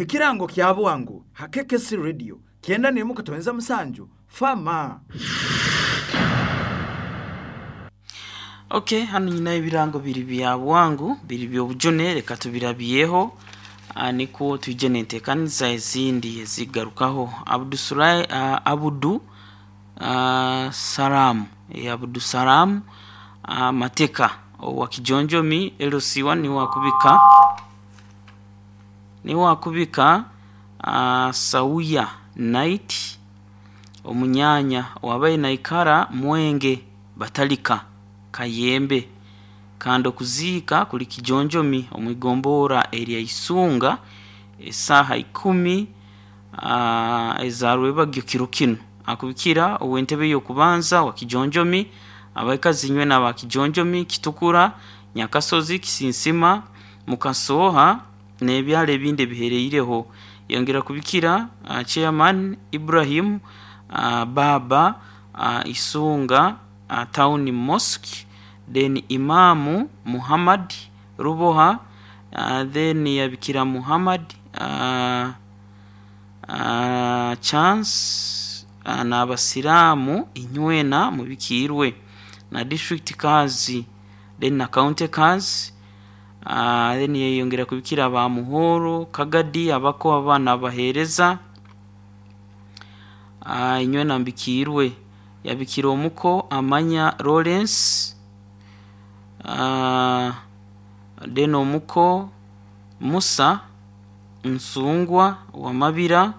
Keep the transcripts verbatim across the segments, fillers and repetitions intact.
Ekirango kya bwangu ha K K C Radio kyenda n'emu katonza musanju fama. Okay, hano nyina ebirango biri bya bwangu biri by'obujune, reka tubirabyeho niko twije n'enteekaniza ezindi ezigarukaho. Abdu Surai, uh, Abudu uh, Salam e, Abudu Salam uh, Mateka owa Kijonjomi L C one niwe akubika niwe akubika uh, Sauya Night omunyanya wabaye naikara Mwenge Batalika Kayembe kandi okuziika kuli Kijonjomi omwigombora erya Isunga esaha ikumi uh, ezarwebagyo kiro kino. Akubikira ow'entebe y'okubanza wa Kijonjomi, abaikazi nywe n'aba Kijonjomi, Kitukura, Nyakasozi, Kisinsima, Mukasoha n'ebyalo ebindi ebihereireho. Yongera kubikira uh, chairman Ibrahim uh, Baba uh, Isunga uh, Town Mosque, then Imamu Muhammad Ruboha, uh, then yabikira Muhammad uh, uh, Chance uh, n'abasiramu inywena mubikirwe na district kazi then na county kazi, uh, then yeyongera kubikira ba Muhoro Kagadi abako abana abahereza uh, inywena mbikirwe. Yabikira omuko Amanya Lawrence, uh, then omuko Musa Nsungwa wa Mabira,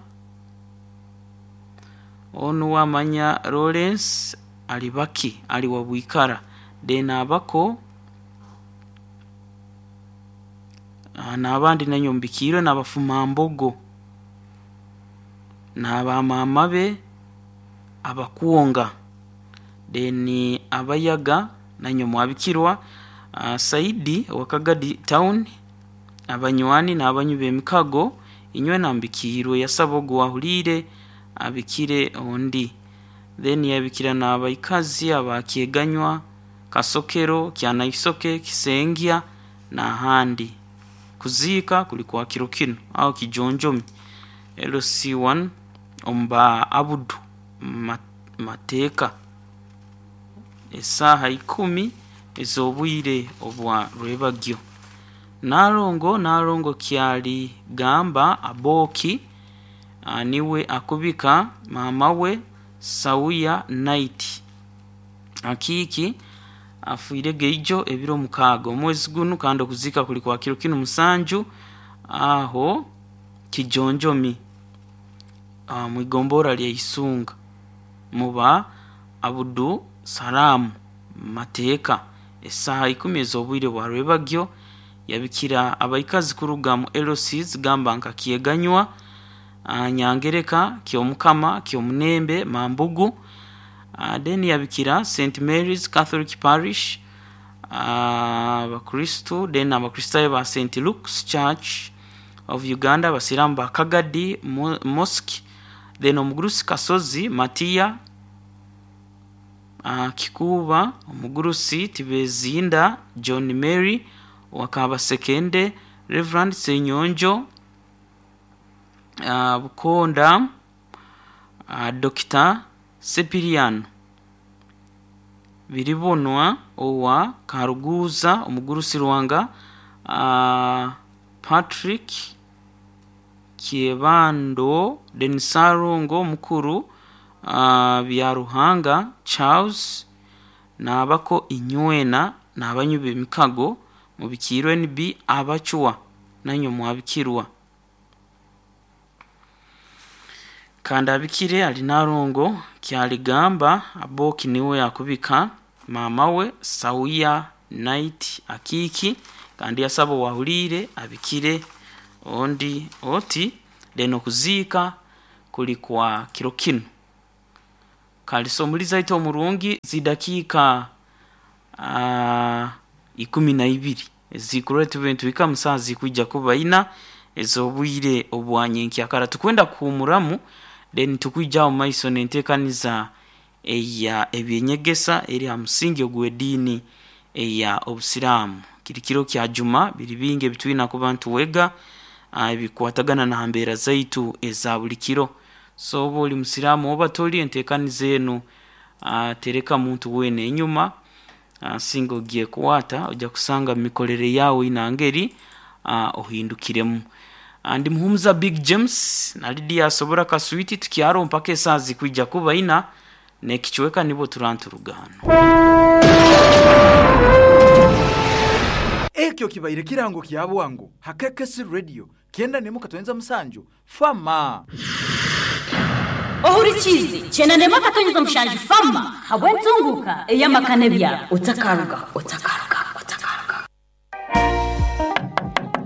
onu Amanya Lawrence alibaki ali wa Bwikara, then abako uh, n'abandi nanyo mbikirwe n'abafumambogo n'abamama be abakuonga, then abayaga nanyo mwabikirwa. uh, Saidi wa Kagadi Town, abanywani n'abanyu b'emikago inywe nambikirwe yasaba ogwo wahulire abikire ondi. Then yabikira n'abaikazi abakyeganywa Kasokero, Kyanaisoke, Kisengya n'ahandi. Kuziika kuli kwa kiro kino aho Kijonjomi L C one omuba Abudu Mateka esaha ikumi ez'obwire obwa rwebagyo. Nalongo Nalongo kyali gamba Aboki niwe akubika mama we Sauya Night akiki afuire geijo ebiro mukaaga omwezi gunu, kandi okuzika kuli kwa kiro kino musanju aho Kijonjomi mwigombora lya Isunga muba Abudu Salamu Mateka esaha ikumi ez'obwire bwa rwebagyo. Yabikira abaikazi kuruga mu L Cs gamba nka Kyeganywa, Nyangereka, Kyomukama, Kyomunembe, Mambugu. Then yabikira Saint Mary's Catholic Parish abakristu, then abakristayo ba Saint Luke's Church of Uganda, abasiramu ba Kagadi Mosque, then omugurusi Kasozi Matiya uh, Kikuba, omugurusi Tibezinda John Mary Wakabasekende, Reverend Senyonjo uh, Bukonda, uh, Doctor Sepiriano Biribonwa owa Karuguza, omugurusi Rwanga, uh, Patrick Kiebando, Denisarungo mukuru uh, Byaruhanga Charles n'abako inywena n'abanyu b'emikago mubikirwe N B abachwa nanyo mwabikirwa. Kandi abikire ali Nalongo kyaligamba Aboki niwe yakubika mama we Sauya Night akiki, kandi yasaba wahulire abikire ondi oti leno kuziika kuli kwa kiro kino. Kalisomuliza ito omurungi zidakika uh, ikumi na ibiri ezikureta ebintu bika musazi kwijja kuba ina ez'obwire obwanyenkyakara. Tukwenda kuhumuramu then tukwijja mu maiso n'enteekaniza eya ebyenyegesa eri ha musingi ogw'eddiini eya obusiraamu. Kiri kiro kya juma biri bingi ebitwina kuba ntuwega uh, ebikwatagana na mbeera zaitu eza buli kiro. So oba oli musiraamu oba toli, enteekaniza enu uh, tereka muntu weena enyuma. uh, singa ogiye kuwata ojja kusanga mu mikolere yawe inangeri uh, ohindukiremu. Uh, ndi Muhumuza Big James na Lydia Asobora Kaswiti, tukyaro mpaka esaaha zikwijja kuba ina nekichweka nibo turanturugano. Ekyo kibaire kirango kya bwangu hakekesi radio kyenda nemu katwenza musanju fama. Ohurikizi kyenda nemu akatonyeza mushanju fama habwe ntunguka eyamakane bya otakaruga otakaruga otakaruga.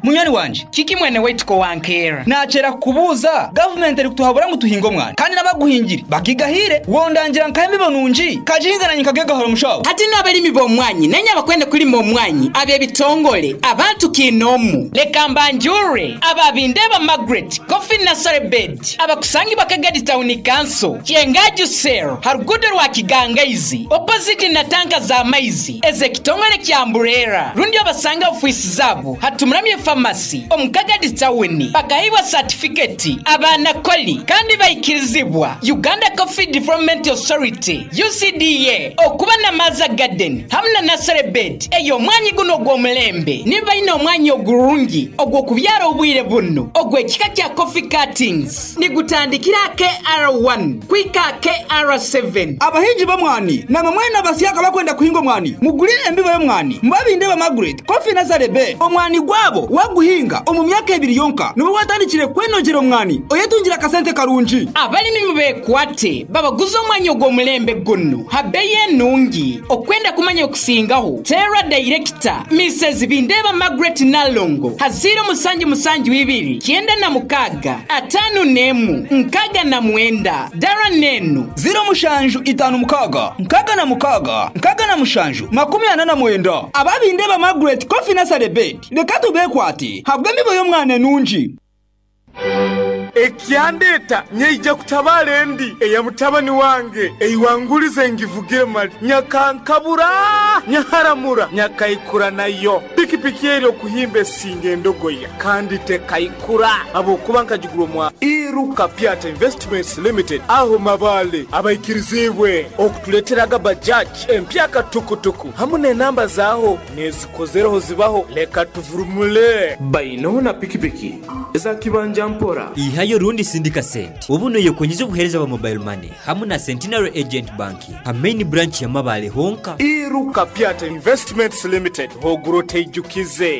Munywani wanje Kiki mwene wetu ko wankera nachera kubuza government eri kutuhabura ngo tuhinge omwana kandi n'abaguhingire bakigahire wondangira nkayemibo nungi kajihingananye nkagegahora omushaho. Hati n'abalimi b'omwanyi nenye abakwenda kulima omwanyi ab'ebitongole abantu kinomu leka mbanjure ababindeba Margaret Coffee Nursery Bed abakusangi bakagadi Town Council Kyengaju Cell harugudo rwa Kigangaizi opposite na tanka za maizi ezekitongole kya Mburera rundi abasanga ofisi zabo hatumuramye famasi omukagadi tawuni bakahiwa certificate abana koli kandi bayikirizibwa Uganda Coffee Development Authority U C D A okuba na Maza Garden hamwe na nursery bed eyo omwanyi guno gw'omulembe niba omwanyi ogurungi ogw'okubyara obwire buno ogw'ekika kya coffee cuttings nigutandikira K R one kwika K R seven. Abahingi b'omwani namwe mwena abasiyaka bakwenda kuhinga omwani mugulire embibo y'omwani mubabinde ba Margaret Coffee Nursery Bed omwani gwabo waguhinga omu myaka ebiri yonka niwe watandikire kwenogera omwani oyetungira akasente karungi. Abalimi mubekwate babaguza omwanya ogw'omulembe guno habeyi enungi okwenda kumanya okusingaho Terra Director Missus Bindeba Margaret Nalongo haziro musanju musanju ibiri kyenda na mukaga atanu nemu nkaga na mwenda dara nenu ziro mushanju itanu mukaga nkaga na mukaga nkaga na mushanju makumi ana na mwenda. Ababindeba Margaret Coffee Nursery Bed leka tubekwate habwe emibo y'omwana enungi. Ekyandeta nyeija kutabala endi eya mutabani wange eiwangulize ngivugire mali nyakankabura nyaharamura nyakaikura nayo pikipiki eri okuhimba esinga endogoya kandi tekaikura abokuba nkagigura omwa Iruka Piata Investments Limited aho mabale abaikirizibwe okutuleteraga Bajaj empyaka tukutuku hamwe n'enamba zaaho nezikozereho zibaho leka tuvurumule baino na pikipiki eza kibanja mpora ihayo rundi sindika sente ubu yokonyiza obuhereza bwa mobile money hamwe na Centenary Agent Banking ha main branch ya Mabale honka. Iruka Piata Investments Limited hogurote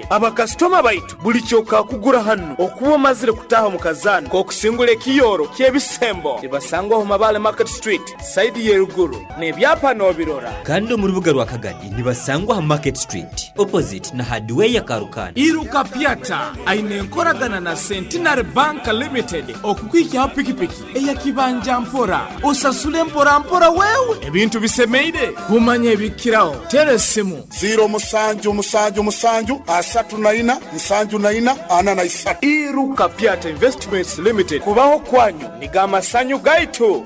abakasitoma baitu buli kyoka kugura hano okuba omazire kutaha mu kazana kokusingula ekiyoro ky'ebisembo nibasangwaho Mabale Market Street side yeruguru n'ebyapa n'obirora kandi mu rubuga rwa Kagadi nibasangwa ha Market Street opposite na hardware ya Karukana. Iruka Piata aine enkoragana na Centenary Bank Limited okukwikyaho pikipiki eyakibanja mpora osasule mpora mpora wewe ebintu bisemeire kumanya ebikiraho tere simu ziro musanju musanju musanju asatu na ina nsanju na ina ana na isatu. Iruka Piata Investments Limited kubaho kwanyu nigamasanyu gaitu.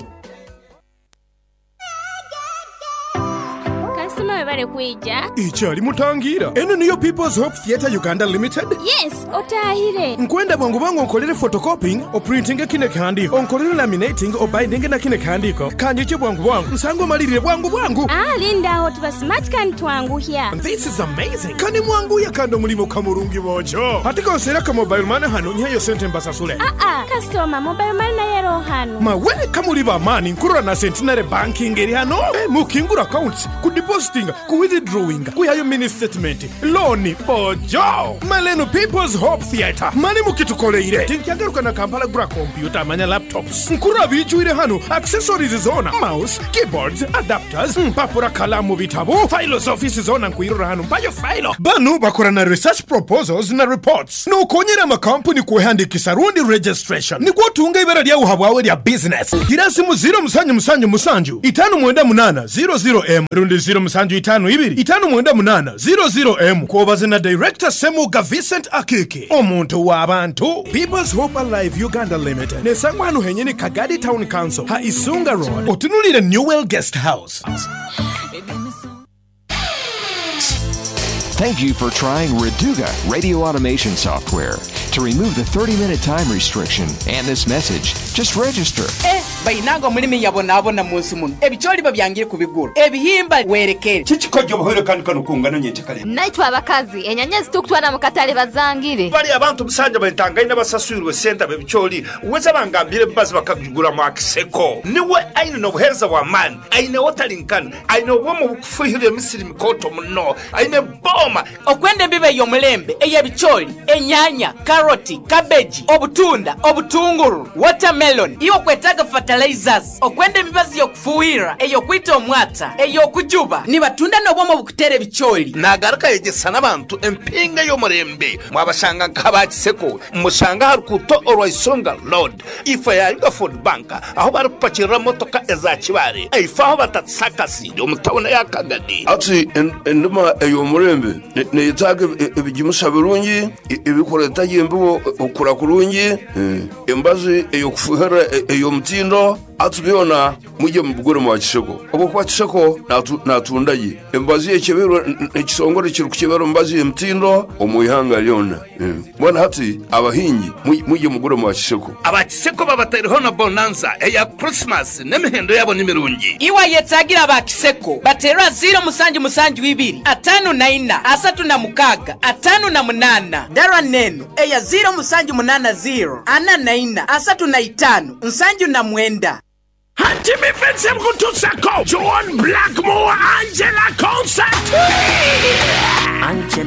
Kasima webale kuija. Ikyali mutangira. Eno niyo People's Hope Theatre Uganda Limited? Yes, otahire. Nkwenda bwangu bwangu onkolere photocopying, oprinting kine kihandiko, onkolere laminating, obinding na kine kihandiko. Kanyiche bwangu bwangu, nsango malirire bwangu bwangu. Ah, linda aho tuba smart kan twanguhya. This is amazing. Kani mwangu ya kando mulimo kamurungi bojo. Hatika osera ka mobile money hano nyayo sente mbasasule. Ah ah, customer mobile money na yero hano. Mawe kamuri ba mani nkurura na Centenary Banking eri hano. Eh, mukingura accounts, ku depositing, ku withdrawing, ku yayo mini statement, loan bojo. Maleno People's Hope Theatre. Mani mukitukoleire. Tinkyagaruka na Kampala gura computer manya laptops. Nkurura bijuire hano accessories zona, mouse, keyboards, adapters, mpapura kalamu bitabu, files office zona nkuirura hano mpayo file. Banu bakora na research proposals na reports. Nokonyera amakampuni kuhandikisa rundi registration. Nikuwa tunga ibara lya uhabwawe lya business. Girasimu zero musanju musanju musanju itanu mwenda munana zero zero M rundi zero musanju itanu ibiri itanu mwenda munana zero zero M kuobaze na Director Semuga Vincent Akiki omuntu w'abantu. People's Hope Alive Uganda Limited nesangwa hano henyene Kagadi Town Council ha Isunga Road otunulire Newell Guest House. Thank you for trying Reduga radio automation software. To remove the thirty minute time restriction and this message, just register. Eh, bayinanga omulimi yabonaabona mu nsi muno, ebikyoli babyangire kubigura, ebihimba werekere. Kikikojja obuhwere kandi kano kungana nyenkyakale. Naitwe abakazi enyanya zitukutwara mu katale bazangire. Bali abantu musanja batangaine basaswirwe sente bebikyoli weza bangambire bazi bakagigura mu akiseko niwe aine n'obuheereza bw'amaani, aine wotalinkana, aine obwomu bukufuhira emisiri mikoto muno, aine boma. Okwenda embibo ey'omulembe ey'ebikyoli, enyanya, karoti, kabeji, obutunda, obutunguru, watermelon, iwe okwetaaga fertilizers, okwenda emibazi y'okufuuhira, ey'okwita omwata, ey'okujuba, nibatunda n'obwomu obukutera ebikyoli. Nagaruka yegesa n'abantu empinga y'omurembe. Mwabashanga nk'abakiseko mushanga harukuto orwaisonga road, ifa ya Yuga Food Bank, aho bari kupakirira motoka eza kibare, ifa aho batatsakasi omutawuna ya Kagadi. Ati en- endima ey'omurembe ne- neyetaaga ebi- ebigimusa birungi, e- ebikureta embibo okura kurungi, eh, embazi ey'okufuhira e- ey'omutindo. Ati byona mujye mubigure mwa Kiseko, obwokuba Kiseko natu- natundaye embazi yekebero, ekisongore kiri kukebera omubazi y'emitindo omu ihanga lyona. Eh, mbona hati abahingi muj- mujye mugure mwa Kiseko. Abakiseko babataireho na bonanza eya Christmas n'emihendo yabo ni mirungi. Iwe yetaagira abakiseko baterwa ziro musanju musanju ibiri atano na ina asatu na mukaga atano na munana, dara neno eya ziro musanju munana ziro ana na ina asatu na itano nsanju na mwenda. Hati mkutusako John Blackmore Angela concert.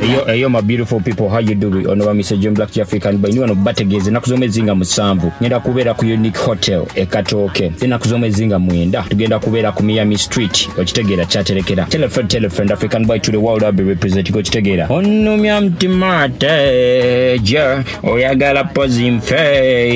Eyo eyo, my beautiful people, how you doing? Ono ba Mister John Black African by niwano bategeeze ennaku z'omwezi nga musanvu ngenda kubeera ku Unique Hotel e Katooke. Ennaku z'omwezi nga mwenda tugenda kubeera ku Miami Street, okitegeera, kyaterekera. Tell a friend, tell a friend, African boy to the world, I'll be representing, okitegeera. Onumya mtima teje, oyagala pozi nfe,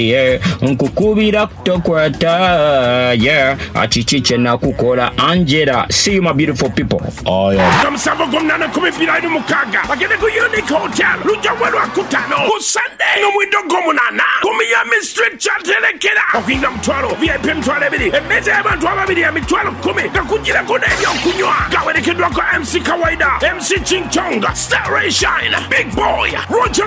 yeah. Nkukubira kutokwata, yeah. Akiki kye nakukola Angela. See you, my beautiful people. Oh, yeah. Nga musanvu gw'omunaana kumi bbiri abiri mukaaga bagende ku Unique Hotel lujja lwakutaano, ku Sunday n'omwindo gw'omunaana ku Miami Street kyaterekera. Okuyingira mutwalo, V I P emitwalo ebiri, emmeeza y'abantu ababiri ya mitwalo kumi nga kugirako n'ebyokunywa. Gawerekeddwako M C Kawaida, M C Ching Chong, Star Ray Shine, Big Boy Roger.